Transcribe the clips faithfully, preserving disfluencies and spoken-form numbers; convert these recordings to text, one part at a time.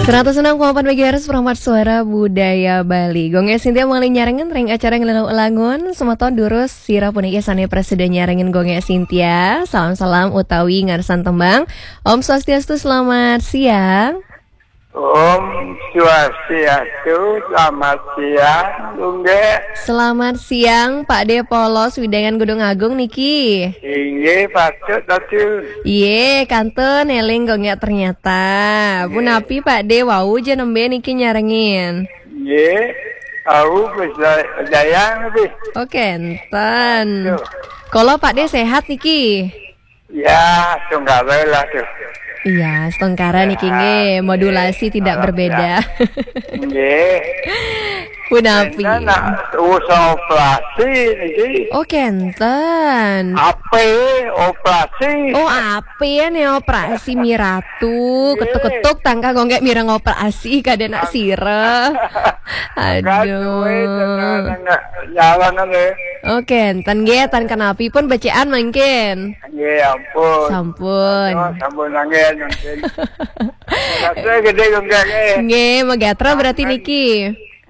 Seratus enam koma empat megahertz, Perangkat Suara Budaya Bali. Gung Gek Sintia mangkin nyarengin ring acara Ngeluluh Langun. Semeton durus sira puniki sane prasida nyarengin Gung Gek Sintia. Salam-salam utawi ngarsan tembang. Om Swastiastu, selamat siang. Om Swastiastu, selamat siang, Gung Gek. Selamat siang, Pak De Polos, Widangan Gunung Agung niki. Inggih, patut, patut. Iye, kantun eling Gung Gek ternyata. Nggih. Punapi Pak De, wau ja nembe niki nyarengin? Nggih, aku bisa jayang lebih. Oke, enten. Aduh. Kala Pak De sehat niki? Ya, setungkara lah tuh. Iya, setungkara niki nggih, modulasi tidak berbeda. Nggih. Punapi? Nak usah operasi niki. Oh, kenten. Ape operasi? Oh, ape ya nih operasi Miratu? Nggih. Ketuk-ketuk tangka Gung Gek mireng operasi kada nak sira. Aduh. Nggak, nggak, nggak, nyalangan ya. Oh, kenten nggih, tan kenapi pun becikan mangkin. Nggih, ampun. Sampun. Aduh, sampun angin mungkin. Rasa gede Gung Gek, nggih. Nggih, megatra berarti niki.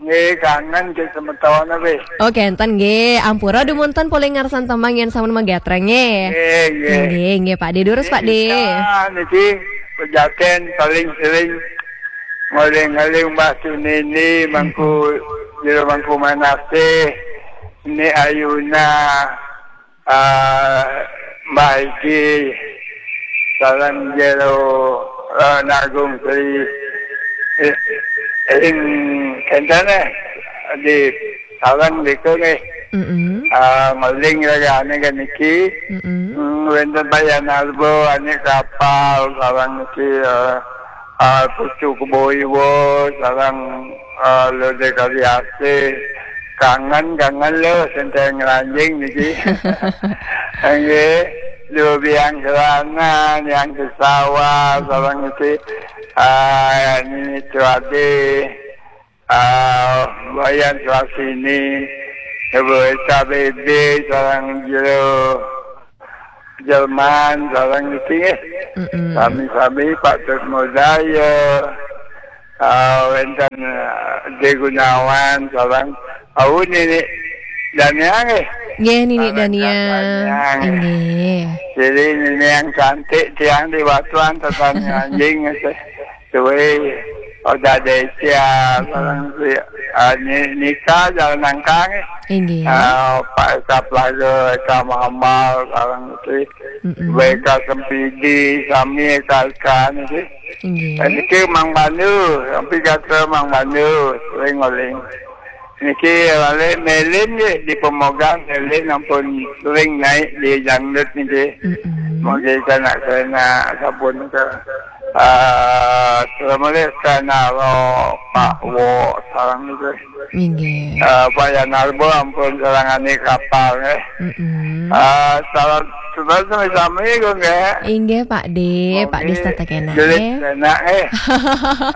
Nggih, kangen ke semeton wis. Oh, kenten nggih. Ampura dumunten polih ngarsan tembang yen sampun megatra nggih. Nggih, nggih. Nggih, nggih, Pak De. Durus, Pak De. Nggih, niki pejaten paling sering ngoling-ngoling Mbah Sunini, Mangku, Jero Mangku Manasih, Ni Ayuna, ah, Mbah Iki, sareng Jero, eh, Nagung Sri, eh, ing kenten, eh, di sareng diku nggih. Mm-mm. Ah, ngoling rayane kan niki. Mm-mm. Hmm, wenten Bayan Arbo, ane kapal, sareng niki, eh, ah, Pucuk Boiwo, sareng, ah, Lode Kaliasih. Kangen, kangen lho, senteng ngranjing niki. Nggih, Lho Biang Serana, Yang Kesawa, sareng niki, ah, Nini Cuade, ah, Wayan Suasini, Ibu Eka Bebe, sareng Jero Jerman, sareng niki nggih. Mm-mm. Sami-sami Pak Tut Modaya, ah, wenten, ah, De Gunawan, sareng, au, Nini Dania nggih. Nggih, Nini Sareng Dania. Dania nggih. Nggih. Jadi Nini yang cantik, tiang di Batuan, tetan anjing nggih. Suwe, Oda Desia, sareng si, ah, Ni-, Nika, jalan nangkang nggih. Inggih. Ah, Pak Eka Plaga, Eka Mamal, sareng si Mm-mm. Weka Sempidi, sami Eka Eka niki. Inggih. Niki Mang Bandu, sampi kata Mang Bandu, sering ngoling. Niki wale Melin nggih di Pemogang, Melin ampun sering naik di dangdut niki. Mm-mm. Mungkin kena, kena sabun ke, ah, selamat sana lo Pak Wo, sareng niki. Inggih. Eh, Pak Yanarbo ampun sareng ane kapal, eh. Mm-mm. Eh, salam, salam sami-sami, Gung, eh. Inggih, Pak De, Pak De Mungkin setata kena, jelit eh. Enak, eh.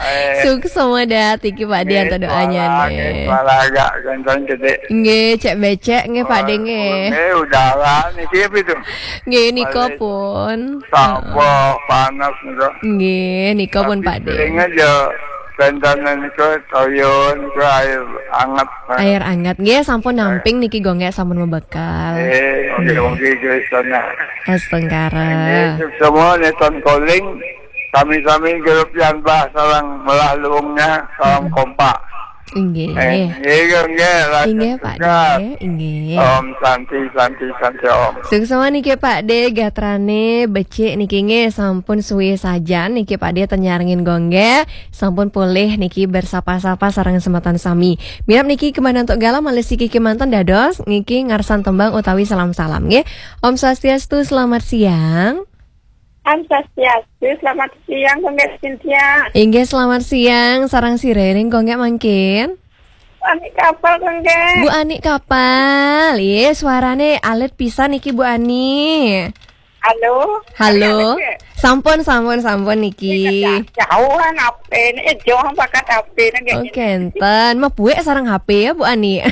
Eh. Suksma dah, tiki Pak De, Nggih, antuk doanya, suara, nggih, nggih. Suara agak kencang gede. Nggih, cek becek, nggih, Pak De, Oh, nggih. Nggih, udara, niki apa itu? Nggih, nika Paling pun. Sabar, panas, nika. Nggih, nika pun, Tapi Pak De. Sering aja, Bantanan niku toya niku air anget. Air anget. Nggih, sampun Eh. namping niki, Gung Gek, sampun mebekal. Eh, oke, Nggih. oke, guys, sana. Astungkara. Nggih, semua neton calling. Sami-sami grup yang bah sareng melah luungnya, salam Hmm. kompak. Nggih. Eh, nggih, nggih, lanjut Inggih, Pak juga. De. Inggih. Om Santi, Santi, Santi, Om. Suksma niki, Pak De, gatrane becik niki nggih, sampun suwe sajan niki Pak De ten nyarengin Gung Gek. Sampun polih niki bersapa-sapa sareng semeton sami. Mirab niki kemana untuk galah malih siki kemanten dados niki ngarsan tembang utawi salam-salam nggih. Om Swastiastu, selamat siang. Om Swastiastu, selamat siang, Gung Gek Sintia. Inggih, selamat siang. Sareng sira ring Gung Gek mangkin? Anik Kapal, Gung Gek. Bu Anik Kapal. Iye, suarane alit pisan niki, Bu Ani. Halo? Halo? Alit, Gek? Sampun, sampun, sampun niki. Iya, jauhan H P ini, eh, jauhan pakat H P ini, Gek. Oke, enten. Mebuek sareng H P ya, Bu Ani.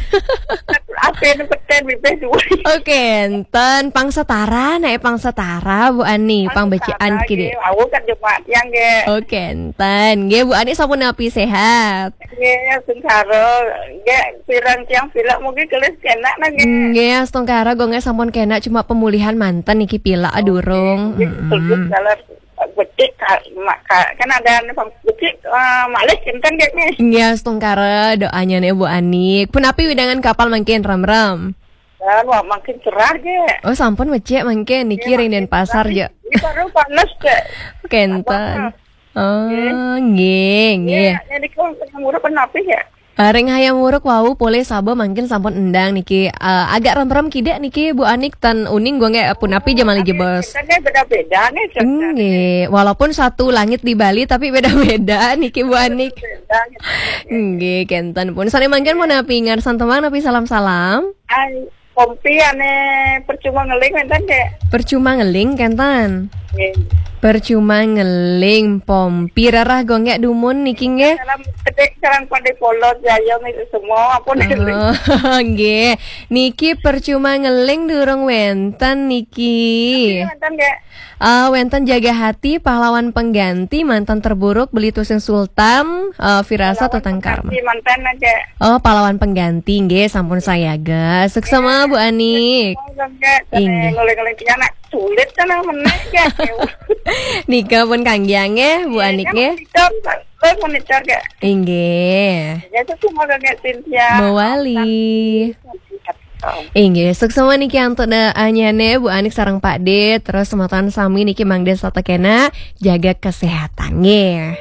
Apa yang peten bibih dua? Oke, enten pang setara, naik pang setara, Bu Ani, pang becikan kide. Aku kan cuma yang ge. Oke, enten. Nggih, Bu Ani sampun napi sehat? Nggih, sengkara. Nggih, pirang tiang pilek mungkin kelis kena nggih. Nggih, astungkara gonge sampun kena, cuma pemulihan manten niki pilek durung. Nggih, terus kalau becik ka-, mak-, ka-, kan ada anu, becik, eh, malih kinten nggih nih. Nggih, astungkara doanya nih Bu Anik. Punapi wewidangan kapal mangkin, rem-rem? Dan wah, makin cerah ge. Oh, sampun becik mangkin niki ring Denpasar je. Ini baru panas ge. Kenten. Oh, nggih, nggih. Jadi kalau tengah murah penapi ya? Eh, ring Hayam Wuruk wau polih saba mangkin sampun endang niki. Eh, agak rem-rem kidik niki Bu Anik, tan uning gonge punapi je malih jebos. Kita beda-beda nih. Nggih, walaupun satu langit di Bali tapi beda-beda niki Bu Anik. Beda gitu. Nggih, kenten pun. Sane mangkin punapi ngarsan tembang napi salam-salam? Ai, pompi ane percuma ngeling wenten, Dek. Percuma ngeling kenten. Nggih. Percuma ngeling pompi, rerah gonge dumun niki nggih. Salam kedik, salam pada Polo Jaya niki semua, apa ngeling. Oh, nggih. Niki percuma ngeling durung wenten niki. Nggih, wenten, Dek. Eh, wenten Jaga Hati, Pahlawan Pengganti, Mantan Terburuk, Beli Tusing Sultan, eh, Firasat, Pahlawan Tentang Karma. Pengganti, mantan aja. Oh, Pahlawan Pengganti nggih, sampun sayaga. Suksema Bu Anik. Oh, enggak. Inggih. Nguling-nguling anak sulit kan meneh ya. Nika pun kangge nggih Bu Anik nggih. Monitor, monitor ya. Inggih. Ya, itu semua kakek Cynthia. Mewali. Inggih, suksema niki antuk da anyane Bu Anik sareng Pak De, terus semeton sami niki mangda setata kena jaga kesehatan nggih.